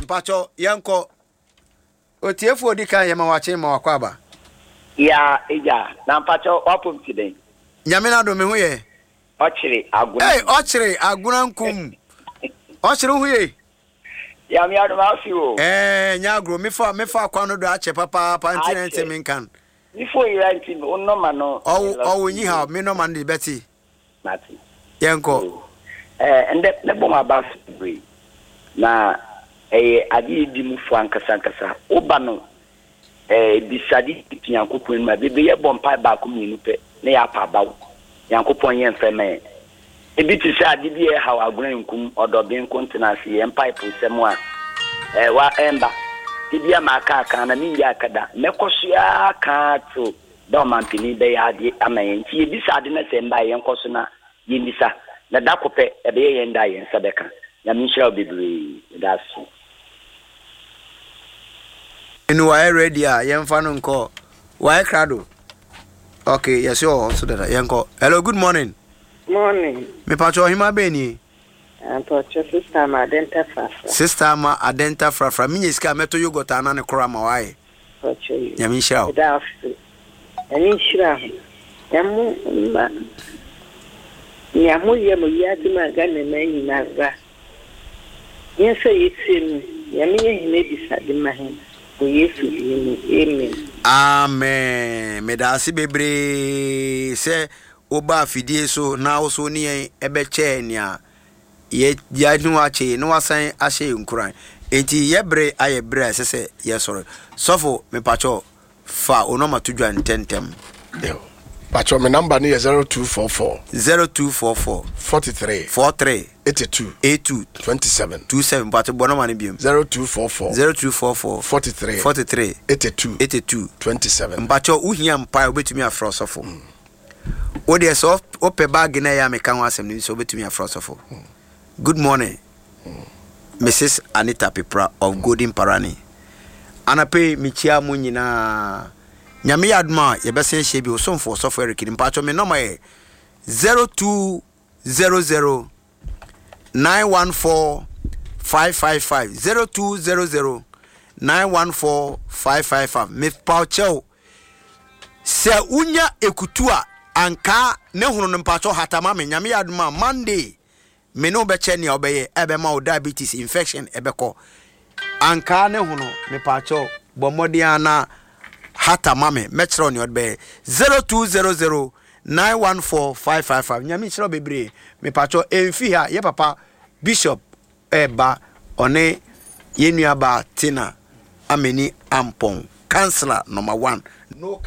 Mpakyɛw, yɛnkɔ. Otiefo a odi kan, yɛma wakye, ma wakɔ aba. Yaa agya, na mpakyɛw w'apom te dɛn? Nyame n'adom, me ho yɛ. Ɔkyere agona. Ei, ɔkyere agona nkum. Ɔkyere wo ho ye? Nyame adom afe o. Ɛɛ, nyɛ agorɔ, mefa mefa kwan no do akyɛ papaapa nti na ɛnte me nkan. Me phone yera nti wo nɔma no. Ɔwo ɔwo nyi haw, me nɔma no de bɛte. Mate. Yɛnkɔ. Ɛɛ, ndɛ mɛbɔ m'aba so bebree. Na ɛyɛ ade a edi mu fo ankasa ankasa. Woba no ɛɛ bisade fi Nyankopɔn anim a, bebree yɛbɔ mpae baako mmienu pɛ na yɛapa abaw. Nyankopɔn nyɛ mfɛe mma yɛn. Ebi te sɛ ade bi a ɛhaw agona nkum, ɔdɔben nko ntena ase, yɛn mpaeposɛm a ɛɛ wa ɛmba. Da bi a maka aka na minnya aka da. Mɛkɔ so ara aka ara till da ɔmanpanin bɛyɛ ade ama yɛn. Nti yɛbisa ade na sɛ ɛmba a yɛnkɔ so na yɛmmisa. Na da ko pɛ ɛbɛyɛ yɛn da a yɛn nsa bɛka. Nyame nhyira wo bebree. Meda ase. Enu wayɛ ready a yɛmfa no nkɔ. Wayɛ krado. Okay, yɛse ɔwɔ so dada. Yɛnkɔ. Hello, good morning. Morning. Mepatwɛ ɔhema bɛn nie? Mpɔkyɛ sister ama adenta frafra. Sister ama adenta frafra. Menya sika a mɛtɔ yogurt ana ne koro ama wayɛ. Mpɔkyɛ yi. Nyame nhyira wo. Meda ase. Nyame nhyira ho. Na mo mma nea moyɛ mo wiadze mu a Ghana man nyinara Hɛn sɛ yetsie no, Nyame yɛ hɛn ebisade ma hɛn, wɔ Yesu dzin mu, amen. Amen medaase bebree sɛ wobaa fidie so na wo so wo ne yɛn bɛkyɛɛ nea yɛne wo akyɛ yi na wasan ahyɛ yɛn nkuran. Enti yɛ bere ayɛ bere a ɛsɛ sɛ yɛsɔre. Sɔfo mepakyɛw Fa wo nɔma to dwa ntɛntɛm. Yo. Pacho, me number no yɛ 0244. 0244. 43. 43. 82. 82. 27. 27. Pacho, bɔ nɔma no biom. 0244. 0244. 43. 43. 82. 82. 27. Mpacho, wohia mpae, wobɛtumi afrɛ ɔsɔfo. Wo deɛ sɛ wopɛ baage no a ɛyɛ a meka ho asɛm no sɛ wobɛtumi afrɛ ɔsɔfo. Good morning. Mrs Anita Pepra of Golden Parani. Anɔpa yi mekyia mo nyinaa. Nyame yɛ adom a yɛbɛsan ahyia bio. Osomfo Ɔsɔfo Eric ni. Mpatsɔ me nɔma yɛ 0200 914 555 0200 914 555. Mepaw kyɛw sɛ wonya ekutu a ankaa ne hono no mpatsɔ hata ma me. Nyame yɛ adom a Monday Me ne wo bɛkyɛ nea wobɛyɛ a ɛbɛma wo diabetes infection ɛbɛkɔ. Ankaa ne hono, mepaakyɛw, bɔ mmɔden ara na hata ma me, mɛkyerɛ wo nea wode bɛyɛ. 0200 914 555. Nyame nhyira wo bebree. Mepaakyɛw, ɛmfi ha, yɛ papa Bishop ɛreba, ɔne yɛn nuabaa Tina Ameni Ampong, councillor number one. No